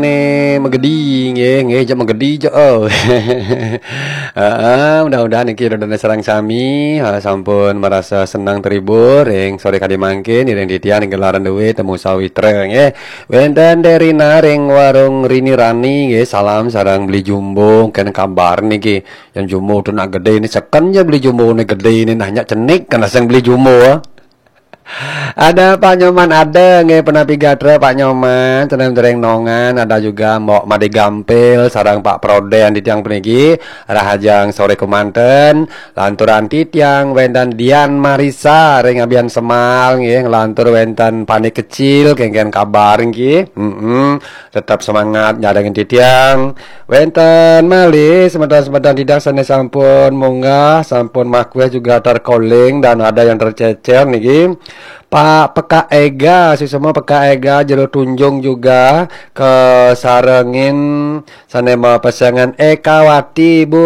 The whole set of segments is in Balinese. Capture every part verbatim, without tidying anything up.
Nih, Megedi, nggih, nggih, jek Megedi, jek, oh. Heeh, mudah-mudahan niki ridane sareng sami, eh, sampun merasa senang terhibur ring sore kadi mangkin, iring titiang ring gelaran duwe temu sawitra, nggih. Wenten Derina ring warung Rini Rani, nggih, salam sareng Beli Jumbo, kene kabar niki. Yang Jumbo tu nak gede ini, seken je Beli Jumbo ini gede ini, nanya cenik, kena sing Beli Jumbo, ah. Ada Pak Nyoman, ada nggih, penapi gatra Pak Nyoman, tenang dereng nongan, ada juga Mbok Made Gampil, sareng Pak Proden di tiang puniki, rahajeng sore kemanten, lanturan titiang, wenten Dian Marisa, ring Abian Semal, nggih, lantur wenten Panik Kecil, kengken kabar nggih, mm tetap semangat nyarengin titiang, wenten malih semeton-semeton titiang sane sampun munggah, sampun makweh juga terkoling dan ada yang tercecer niki. Pak P K Ega, suksma P K Ega, Jero Tunjung juga kesarengin sane mapesengan Ekawati, Bu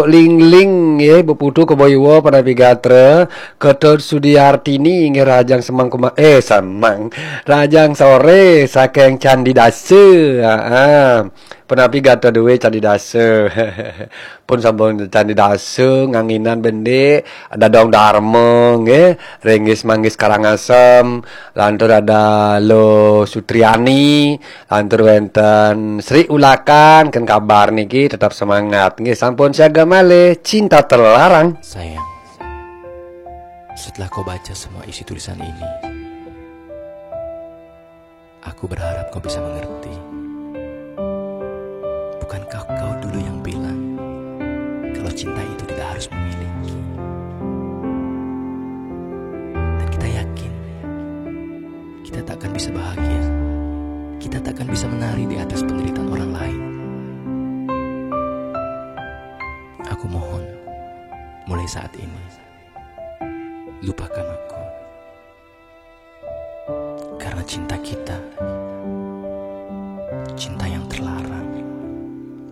Lingling, nggih, Bu Putu Keboiwo, penapi gatra, Ketut Sudiartini, nggih, rahajeng semeng kuma-, eh, semeng, rahajeng sore, saking Candi Dasa, heeh. Penapi gatra duwe Candi Dasa. Pun sampun Candi Dasa, nganginan bendi, ada Dong Darma, nggih, Ringgis Manggis Karangasem, lantur ada Lo Sutriani, lantur wenten Sri Ulakan, ken kabar niki tetap semangat, nggih, sampun siaga malih, cinta terlarang. Sayang, setelah kau baca semua isi tulisan ini, aku berharap kau bisa mengerti. Bukankah kau dulu yang bilang kalau cinta itu tidak harus memiliki? Dan kita yakin kita tak akan bisa bahagia. Kita tak akan bisa menari di atas penderitaan orang lain. Aku mohon, mulai saat ini, lupakan aku. Karena cinta kita, cinta yang terlarang.